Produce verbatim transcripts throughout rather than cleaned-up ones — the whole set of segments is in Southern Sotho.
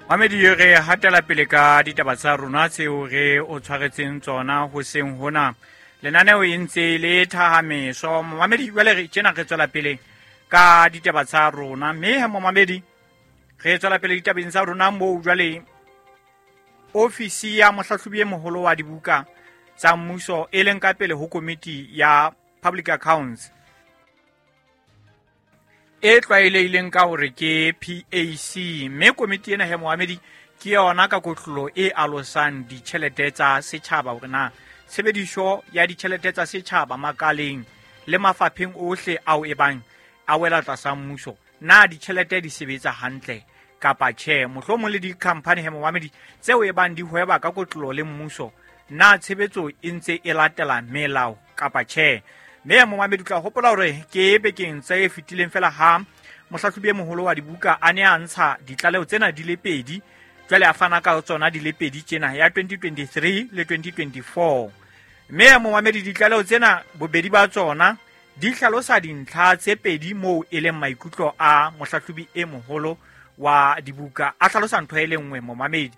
Mamedi, re hatela pele ka ditaba tsa rona tseo re o tshwaretseng tsona hoseng hona. Lenaneo e ntse le thahameso. Mamedi, jwale re tjena re tswela pele ka ditaba tsa rona. Mme he momamedi, re tswela pele ditabeng tsa rona moo jwale ofisi ya mohlahlobi e moholo wa dibuka tsa mmuso e leng ka pele ho komiti ya Public Accounts e tlwaelehileng ka hore ke P A C, mme komiti ena he moamedi ke yona ka kotlolo e alosang ditjhelete tsa setjhaba hore na tshebediso ya ditjhelete tsa setjhaba makaleng le mafapheng ohle ao e bang a wela tlasa mmuso, na ditjhelete di sebetsa hantle kapa tjhe. Mohlomong le di-company he moamedi tseo e bang di hweba ka kotlolo le mmuso, na tshebetso e ntse e latela melao kapa tjhe. Mme momamedi o tla hopola hore ke bekeng tse fetileng fela ha mohlahlobi e moholo wa dibuka a ne a ntsha ditlaleho tsena di le pedi, jwale a fana ka tsona di le pedi tjena ya twenty twenty-three le twenty twenty-four. Mme momamedi, ditlaleho tsena bobedi ba tsona di hlalosa dintlha tse pedi moo e leng maikutlo a mohlahlobi e moholo wa dibuka a hlalosa ntho e le nngwe momamedi.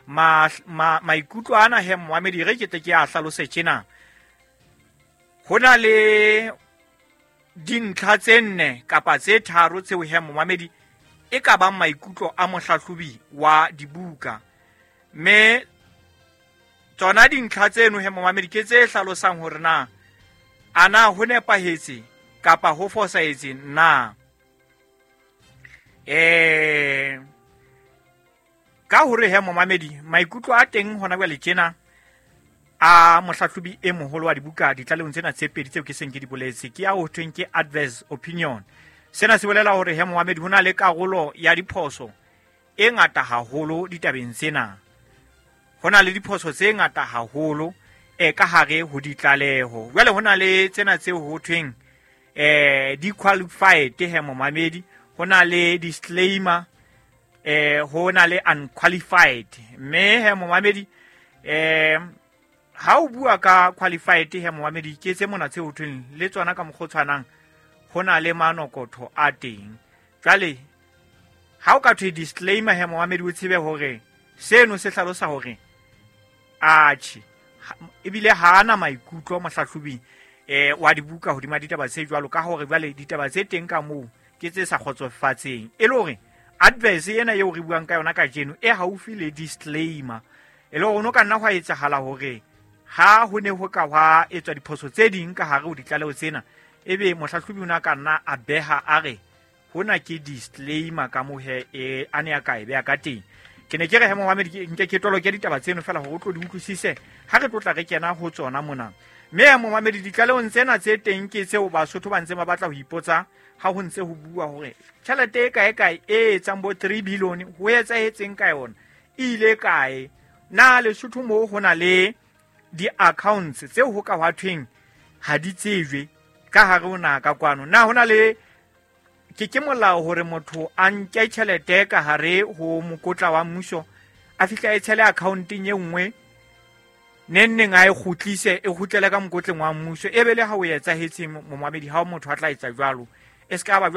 Ma, ma, maikutlo ana he momamedi re ke tle ke a hlalose tjena. Ho na le dintlha tse nne kapa tse tharo tseo he momamedi e ka bang maikutlo a mohlahlobi wa dibuka. Mme tsona dintlha tseno he momamedi ke tse hlalosang hore na ana ho nepahetse kapa ho fosahetse na. Eh, ka hore he momamedi maikutlo a teng hona jwale tjena a mohlahlobi e moholo wa dibuka ditlalehong tsena tse pedi tseo ke seng ke di boletse ke ya ho thweng ke adverse opinion. Sena se bolela hore he momamedi ho na le karolo ya diphoso e ngata haholo ditabeng tsena. Ho na le diphoso tse ngata haholo e ka hare ho ditlaleho. Jwale ho na le tsena tseo ho thweng eh di qualified he momamedi, ho na le disclaimer, eh ho na le unqualified. Mme he momamedi eh ha o bua ka qualified he momamedi ke tse mona tse ho thweng le tsona ka mokgwa o tshwanang ho na le manokotho a teng. Jwale ha o ka thwe disclaimer he momamedi o tsebe hore seno se hlalosa hore atjhe ebile ha ana maikutlo mohlahlobi eh wa dibuka hodima ditaba tse jwalo, ka hore jwale ditaba tse teng ka moo ke tse sa kgotsofatseng. E le hore adverse ena eo re buang ka yona kajeno e haufi le disclaimer, e le hore ho ka nna hwa etsahala hore ha ho ne ho ka hwa etswa diphoso tse ding ka hare ho ditlaleho tsena, ebe mohlahlobi o ne a ka nna a beha a re hona ke disclaimer ka moo he e a ne a ka e beha ka teng. Ke ne ke re he momamedi ke nke ke toloke ditaba tseno fela hore o tlo di utlwisise ha re tlo tla re kena ho tsona mona. Mme he momamedi ditlalehong tsena tse teng ke tseo Basotho ba ntse ba batla ho ipotsa ha ho ntse ho bua hore tjhelete e kae kae e etsang bo three billion ho etsahetseng ka yona, e ile kae? Na Lesotho moo ho na le di-accounts tseo ho ka hwa thweng ha di tsejwe ka hare ho naha ka kwano? Na ho na le ke ke molao hore motho a nke tjhelete ka hare ho mokotla wa mmuso a fihla e tshele accounteng e nngwe neng neng a e kgutlise e kgutlele ka mokotleng wa mmuso, e be le ha o etsahetse momamedi ha motho a tla etsa jwalo e se ka ba jwale.